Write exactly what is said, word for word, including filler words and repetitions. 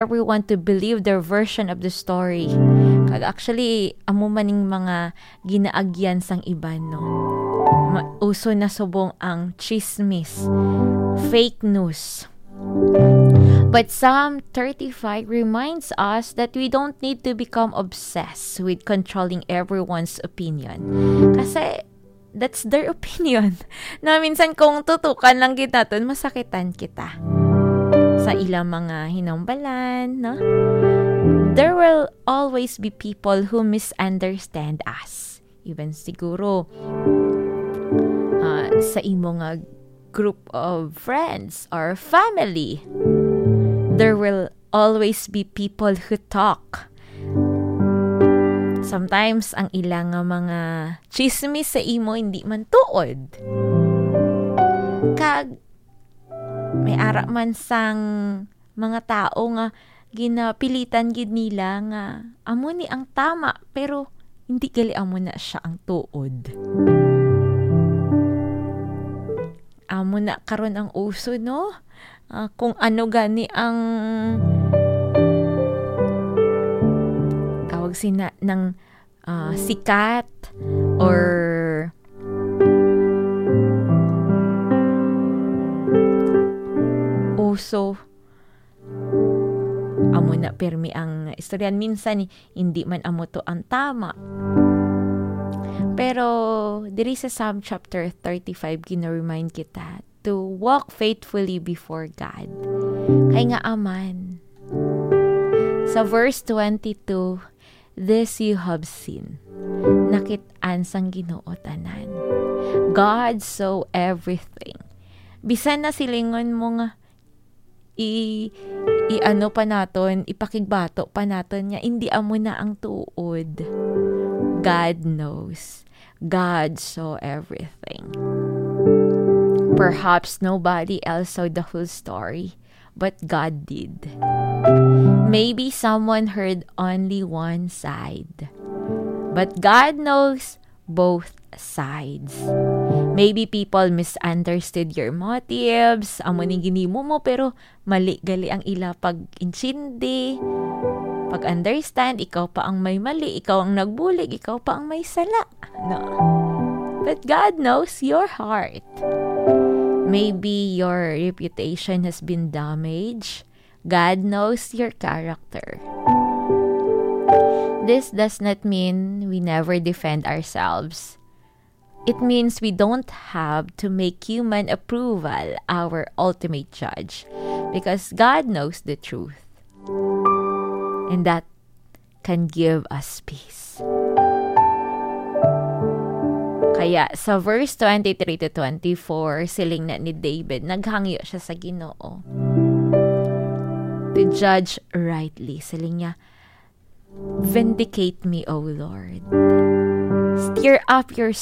everyone to believe their version of the story. Kag actually, amo man ning mga ginaagyan sang iban, no? Ma-, uso na subong ang chismis, fake news. But Psalm thirty-five reminds us that we don't need to become obsessed with controlling everyone's opinion. Kasi, that's their opinion. Na minsan kung tutukan lang gid naton, masakitan kita sa ilang mga hinumbalan, no? There will always be people who misunderstand us. Even siguro, ah, sa imo nga group of friends or family, there will always be people who talk. Sometimes, ang ila nga mga chismis sa imo hindi man tuod. Kag may ara man sang mga tao nga ginapilitan gid nila nga amo ni ang tama, pero hindi gali amo na siya ang tuod. Amo na karon ang uso, no? Ah, kung ano gani ang tawag sina ng, ah, sikat or uso. Amo na pirmi ang istoryan. Minsan, hindi man amo to ang tama. Pero diri sa Psalm chapter thirty-five, gina-remind kita to walk faithfully before God. Kay nga aman, sa verse twenty-two, "This you have seen." Nakit-an sang Ginoo tanan. God saw everything. Bisan na silingon mo nga i-, i-ano pa naton, ipakigbato pa naton nga indi amo na ang tuod. God knows. God saw everything. Perhaps nobody else saw the whole story, but God did. Maybe someone heard only one side, but God knows both sides. Maybe people misunderstood your motives. Amo ni ginimo mo, pero mali gali ang ila pag-intindi, pag-understand. Ikaw pa ang may mali, ikaw ang nagbulig, ikaw pa ang may sala. No? But God knows your heart. Maybe your reputation has been damaged. God knows your character. This does not mean we never defend ourselves. It means we don't have to make human approval our ultimate judge, because God knows the truth. And that can give us peace. Kaya sa verse twenty-three to twenty-four, siling na ni David, naghangyo siya sa Ginoo to judge rightly. Siling niya, "Vindicate me, O Lord. Stir up your